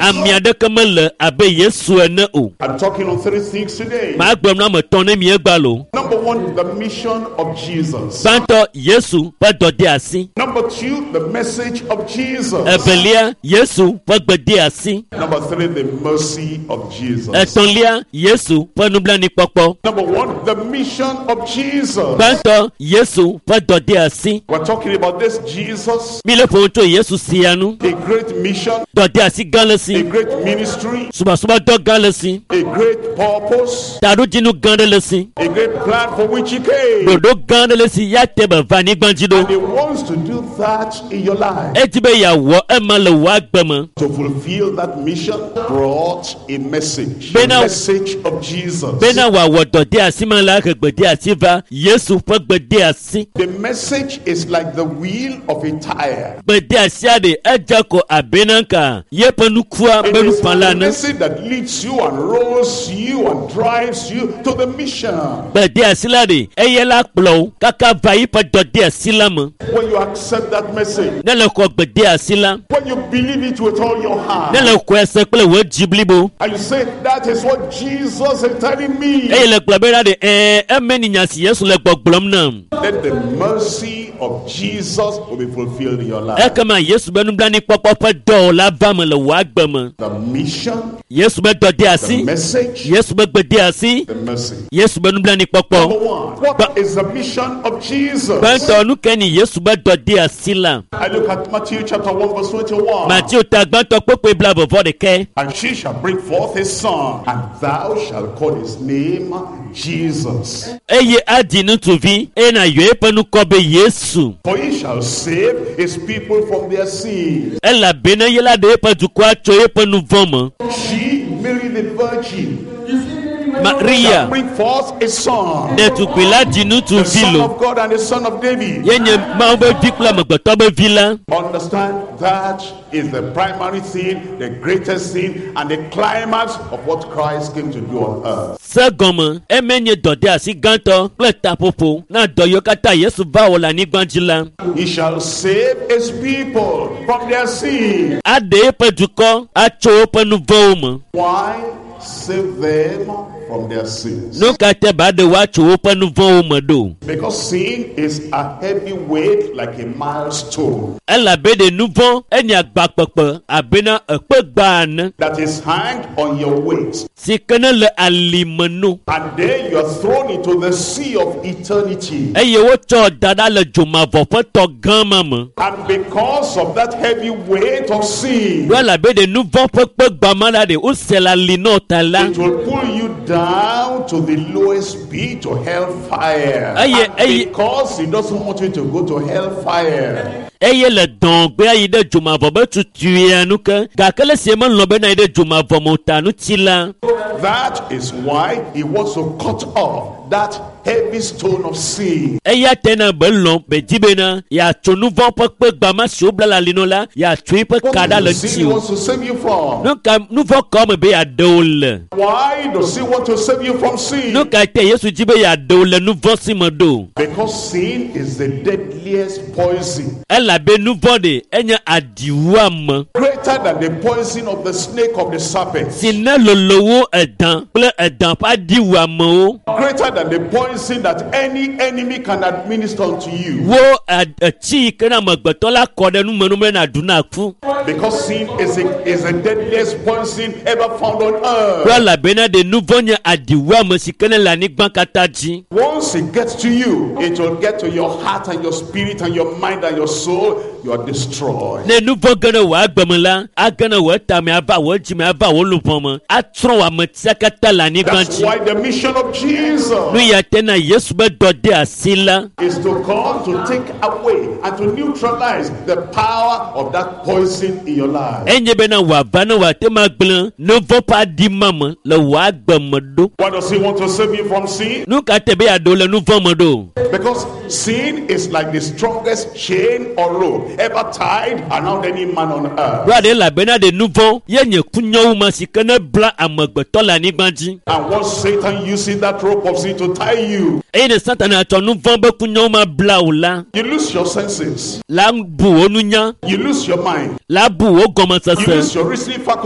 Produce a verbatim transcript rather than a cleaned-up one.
Ame aɖeke mele abe Yesu ene o. I'm talking on three things today. Magblɔ nu ame etɔ̃ ne miegba lo. Number one, the mission of Jesus. Gbãtɔ Yesu ƒe dɔdeasi. Number two, the message of Jesus. Evelia Yesu ƒe gbedeasi. Number three, the mercy of Jesus. Etɔ̃lia Yesu ƒe nublanuikpɔkpɔ. Number one, the mission of Jesus. Gbãtɔ Yesu ƒe dɔdeasi. We're talking about this Jesus, Mi le ƒo nu tso Yesu sia nu. a great mission, Dɔdeasi gã le a si. great ministry, Subɔsubɔdɔ gã le si. a great purpose, Taɖodzinu gã ɖe le si. a great plan for which he came. Ɖoɖo gã ɖe le si ya te be va anyigba dzi ɖo. And he wants to do that in your life. Edi be yeawɔ ema le wò agbe me. To fulfill that mission brought a message. The Bena- message of Jesus. Bena wòawɔ dɔdeasi ma la he gbedeasi va Yesu ƒe gbedeasi. The message is like the wheel of a tire. Gbedeasia ɖe edze ko abe ka yeƒe nukua It be is nufala the ene. message that leads you and rolls you and drives you to the mission. Gbedeasi la ɖe eye la kplɔ wo kaka va yiƒe dɔdeasi la me. When you accept that message, Ne le xɔ gbedeasi la, when you believe it with all your heart, ne le xɔe se kple wò dzi blibo and you say, That is what Jesus is telling me, eye le gblɔ bena ɖe ɛɛ eme ni nya si Yesu le gbɔgblɔm nam. then the mercy of Jesus will be fulfilled in your life. Ekema Yesu be nublanuikpɔkpɔ ƒe dɔwɔ la va me le wò agbe me. The mission, Yesu be the dɔdeasi, message, Yesu be gbedeasi, the mercy. Yesu be nublanuikpɔkpɔ. Number one, what is the mission of Jesus? Gbãtɔ nu ke ni Yesu be dɔdeasi la. I look at Matthew chapter one, verse twenty-one. Mateo ta gbãtɔ kpokpoe blaeve vɔ ɖekɛ. And she shall bring forth a son, and thou shalt call his name Jesus. Eye adzi ŋutsuvi eye nàyɔ eƒe ŋkɔ be Yesu. For he shall save his people from their sins. Elabena ye la ɖe eƒe dukɔa tso eƒe nu vɔ̃ me. She, Mary the Virgin, shall Maria bring forth a son, ɖetugbui la dzi the ŋutsuvi son lo. of God and the son of David. Ye nye Mawu be vi kple amegbetɔ be vi la. Understand that is the primary thing, the greatest thing, and the climax of what Christ came to do on earth. Se gɔme eme nye dɔdeasi gãtɔ kple taƒoƒo na dɔ yiwo katã Yesu va wɔ le anyigba dzi la. He shall save his people from their sin. Aɖe eƒe dukɔ atso woƒe nu vɔ̃wo me. Why save them from their sins? Nu ka te ba ɖe woatso woƒe nu vɔ̃wo me ɖo? Because sin is a heavy weight like a milestone Elabe ɖe nu vɔ̃ enye agba kpekpe abena ekpe gba ene that is hanged on your waist. si ke ne le alime no. And then you are thrown into the sea of eternity. Eye wotsɔ da ɖa le dzomavɔ ƒe tɔ gã ma me. And because of that heavy weight of sin, Ɖo elabe ɖe nu vɔ̃ ƒe kpe gba ma la ɖe wose le ali nɔ ta la. it will pull you down to the lowest pit to hellfire. Aye, And aye. because he doesn't want you to go to hellfire, Eye le dɔ̃gbea yi ɖe dzomavɔ be tutuia nu ke gake le sie melɔ̃ bena yi ɖe dzomavɔ me o ta ŋuti la. that is why he wants to cut off that heavy stone of sin. Eya te na be lɔ̃ be di bena yeatso nu vɔ̃ ƒe kpe gba ma si wobla le ali nɔ la yeatso eƒe What ka ɖa le is the sin he ŋuti o. wants to save you from? Nu ka nu vɔ̃ kawo me be yeaɖe wo le? Why does he want to save you from sin? Nu ka te Yesu di be yeaɖe wo le nu vɔ̃ si me ɖo? Because sin is the deadliest poison, Elabe nu vɔ̃ ɖe enye aɖiwuame greater than the poison of the snake of the serpent, si ne lolo wu edã kple edã ƒe aɖiwuamewo. greater than the poison that any enemy can administer unto you. Wo ɛ- etsi yi ke na amegbetɔ la kɔ ɖe nume nu be nàɖu na ku. Because sin is a, is the deadliest poison ever found on Ɖo earth. elabena ɖe nu vɔ̃ nye aɖiwuame si ke ne le anyigba katã dzi. Once it gets to you, it will get to your heart and your spirit and your mind and your soul. You are destroyed. Ne nu vɔ̃ ge ɖe wò agbe me la, age ɖe wò tame ava wò dzime ava wò luʋɔ me, atsrɔ̃ wò ametia katã le anyigba That's dzi. why the mission of Jesus Nu ya te na Yesu be dɔdeasi la is to come to take away and to neutralize the power of that poison in your life. enye bena wòava ne wòate ma gblẽ nu vɔ̃ ƒe aɖi ma me le wò agbe me ɖo. Why does he want to save you from sin? Nu ka te be yeaɖo le nu vɔ̃ me ɖo? Because sin is like the strongest chain or rope ever tied around any man on earth. Ɖo aɖe elabena ɖe nu vɔ̃ ye nye kunyawu ma si ke ne bla amegbetɔ le anyigba dzi. And once Satan uses that rope of sin to tie you, Eye ne Satana tsɔ nu vɔ̃ be kunyawu ma bla wò la, you lose your senses, la bu wò nunya, you lose your mind, la bu wò you gɔmesese. lose your reasoning faculty.